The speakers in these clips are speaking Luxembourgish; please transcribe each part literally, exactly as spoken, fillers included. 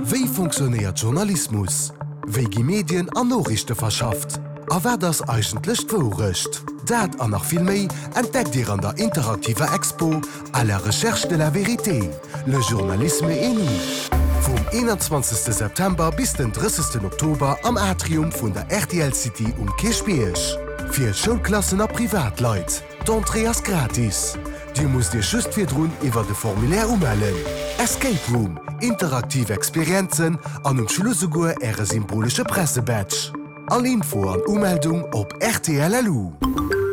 Wéi funktionéiert Journalismus? Wéi gi Medien an Noriichte verschafft? A wat ass eigentlech d'Wourecht? Dat an nach vill méi entdeckt Dir an der interaktiver Expo À la recherche de la vérité, le journalisme et nous. Vum eenanzwanzegste September bis den drëssegsten Oktober am Atrium vun der rtl City um Kierchbierg. Fir Schoulklassen a Privatleit. D'Entrée ass gratis. Dir musst Iech just virdrun iwwer de Formulaire umellen. Escape Room, interaktiv Experienzen an um Schluss esouguer Äre symbolesche Pressebadge. All Info an Umeldung op rtl.lu.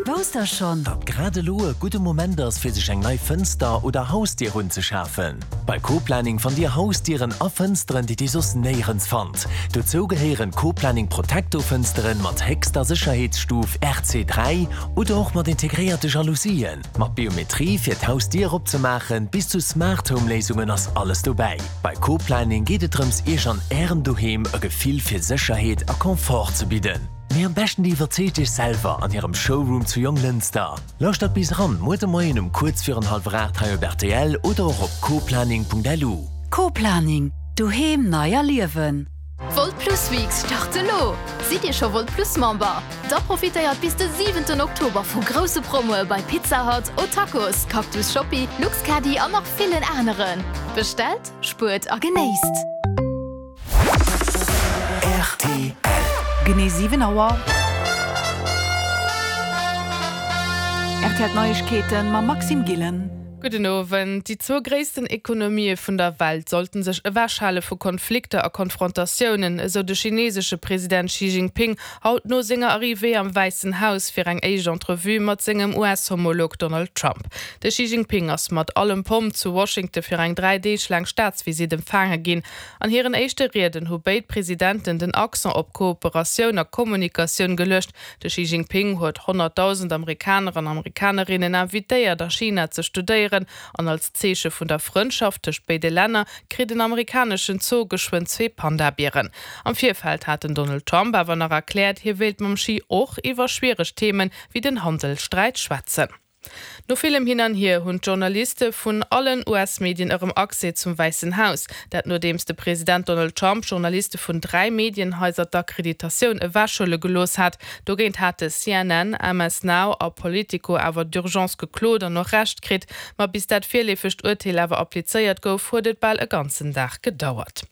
Wousst der schonn? Datt grad elo e gudde Moment ass fir sech eng nei Fënster oder Hausdier unzeschafen? Bei Coplaning fannt Dir Hausdieren a Fënsteren, déi Dir soss néierens fannt. Dozou gehéieren Coplaning Protecto Fënsteren mat héchster Sécherheetsstuf R C dräi oder och mat integréierte Jalousien. Mat Biometrie fir d'Hausdier opzemaachen, bis zu Smart Home Léisungen ass alles dobäi. Bei Coplaning geet et drëms Iech an Ärem Doheem e Gefill fir Sécherheet a Confort ze bidden. Mee am beschten Dir iwwerzeegt Iech selwer an hirem Showroom zu Jonglënster. Lauschtert bis eran muer de Moien um kuerz virun hallwer aacht hei op rtl oder och op coplaning.lu. Coplaning, Doheem nei erliewen. D'Wolt Plus Weeks start elo! Sidd Dir scho Wolt Plus Member? Da profitéiert bis de siwenten Oktober vu grousse Promoe bei Pizza Hut, O'Tacos, Cactus Shoppi, Luxcaddy an nach villen aneren. Bestellt, spuert a genéisst! Rtl. Genee siwen Auer. Rtl D'Neiegkeeten mam Maxime Gillen. Gudden Owend. Déi zwou gréissten Ekonomië vun der Welt sollten sech ewechhale vu Konflikter a Konfrontatiounen, esou de chinesesche President Xi Jinping haut no senger Arrivée am Wäissen Haus fir eng éischt Entrevue mat sengem U S-Homolog Donald Trump. De Xi Jinping ass mat allem Pomp zu Washington fir eng dräi Deeg laang Staatsvisitt empfaange ginn. An hiren éischte Rieden hu béid Presidenten den Accent op Kooperatioun a Kommunikatioun geluecht. De Xi Jinping huet honnertdausend Amerikaner an Amerikanerinnen invitéiert, a China ze studéieren an als Zeeche vun der Frëndschaft tëscht béide Länner kritt en amerikaneschen Zoo geschwënn zwee Panda-Bieren. Am Virfeld hat den Donald Trump awer nach erkläert, hie wéilt mam Xi och iwwer schwiereg Themen wéi den Handelssträit schwätzen. No villem Hin an Hier hunn d'Journaliste vun allen U S-Medien erëm Accès zum Wäissen Haus. Dat nodeems de President Donald Trump Journaliste vun dräi Medienhaiser d'Akkreditatioun ewechhuele gelooss hat. Dogéint hate C N N, M S Now a Politico awer d'urgence geklot an och Recht kritt. Ma bis dat virleefegt Urteel awer applizéiert gouf, huet et bal e ganzen Dag gedauert.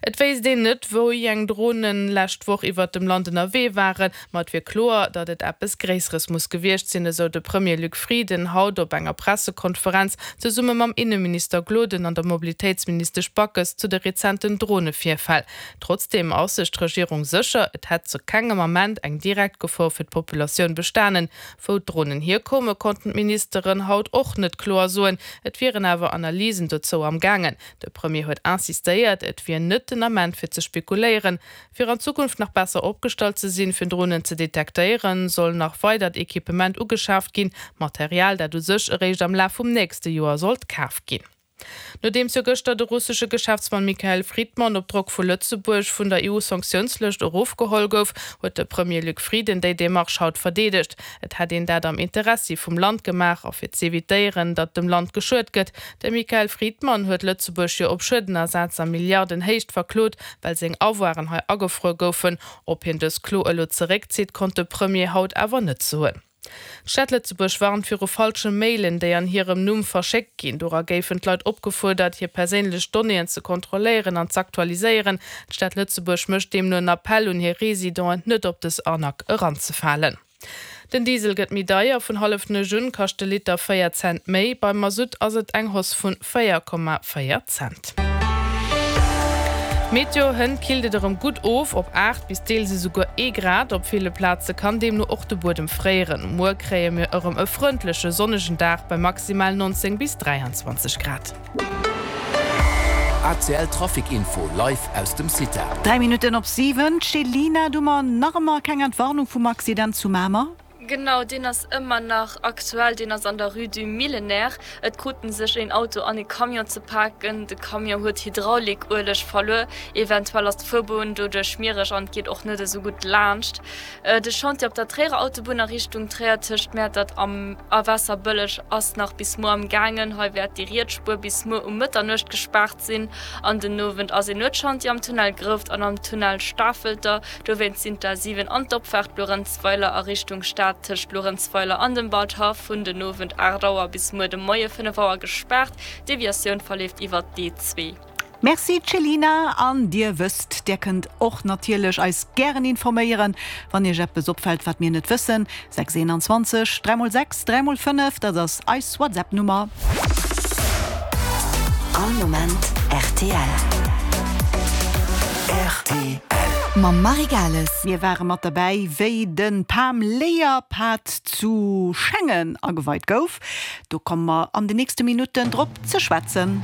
Et wéisst een net, wéi eng Dronen lescht Woch iwwert dem Land ënnerwee waren, ma et wier kloer, datt et eppes Gréisseres muss gewiescht sinn, esou de Premier Luc Frieden haut op enger Pressekonferenz zesumme mam Inneminister Gloden an der Mobilitéitsministesch Backes zu de rezenten Dronevirfäll. Trotzdeem ass sech d'Regierung sécher, et hätt zu kengem Ament eng direkt Gefor fir d'Populatioun bestanen. Wou d'Dronen hierkoumen, konnten d'Ministeren haut och net kloer soen, et wieren awer Analysen dozou am gaangen. De Premier huet insistéiert, et wier net den Ament fir ze spekuléieren. Fir an Zukunft nach besser opgestallt ze sinn, fir Dronen ze detektéieren, soll nach weidert Equipement ugeschaaft ginn, Material, dat u sech eréischt am Laf vum nächste Joer sollt kaf ginn. Nodeems jo gëschter de russesche Geschäftsmann Mikhail Fridman op Drock vu Lëtzebuerg vun der E U-Sanktiounslëscht erofgeholl gouf, huet de Premier Luc Frieden déi Demarche haut verdeedegt. Et hätt een dat am Interessi vum Land gemaach a fir z'evitéieren, datt dem Land geschuet gëtt. De Mikhail Fridman huet Lëtzebuerg jo op Schuedenersaz a Milliardenhéicht verklot, well seng Avoiren hei agefruer goufen. Ob hien dës Klo elo zeréckzitt, konnt de Premier haut awer net soen. D'Stad Lëtzebuerg warnt viru falsche Mailen, déi an hirem Numm verschéckt ginn. Dora géifen d'Leit opgefuerdert, hir perséinlech Donnéeën ze kontrolléieren an z'aktualiséieren. D'Stad Lëtzebuerg mécht deemno en Appell un hir Residenten, net op dës Arnaque eranzefalen. Den Diesel gëtt méi deier, vun Hallefnuecht un kascht de Liter véier Cent méi, beim Masutt ass et eng Hausse vun véier Komma véier Cent. Meteo, Hënt killt et erëm gutt of op aacht bis deels esouguer ee Grad. Op ville Plaze kann deemno och de Buedem fréieren. Muer kréie mir erëm e frëndleche sonnegen Dag bei maximal neunzéng bis dräianzwanzeg Grad. A C L Trafic Info live aus dem CITA. Dräi Minutten op siwen, Céline, du mer nach ëmmer keng Entwarnung vum Accident zu Mamer? Genau, deen ass ëmmer nach aktuell. Deen ass an der Rue du Millénaire. Et kruten sech een Auto an ee Camion ze paken. De Camion huet Hydraulikueleg verluer. Eventuell ass d'Fuerbunn doduerch schmiereg an et geet och net esou gutt laanscht. De Chantier op der Tréierer Autobunn a Richtung Tréier tëscht Mäertert a Waasserbëlleg ass nach bis muer am gaangen. Hei wäert déi riets Spuer bis muer um Mëtternuecht gespaart sinn. An den Owend ass een Nuetschantier am Tunnel Grouft an am Tunnel Stafelter. Dowéinst sinn d'A siwen an d'Opfaart Luerenzweiler a Richtung Stad tëscht Luerenzweiler an dem Waldhaff vun den Owend aacht Auer bis muer de Moie fënnef Auer gespaart. D'Deviatioun verleeft iwwer d'E zwee. Merci Céline, an dir wësst, dir kënnt och natierlech eis gären informéieren, wann iech eppes opfält, wat mir net wëssen. sechs eenanzwanzeg dräi mol sechs dräi mol fënnef, dat ass eis WhatsApp-Nummer. All Moment rtl. Rtl. Mam Marie Gales. Mir ware mat derbäi, wéi de PAM Léierpad zu Schengen ageweit gouf. Do komme mer an den nächste Minutten drop ze schwätzen.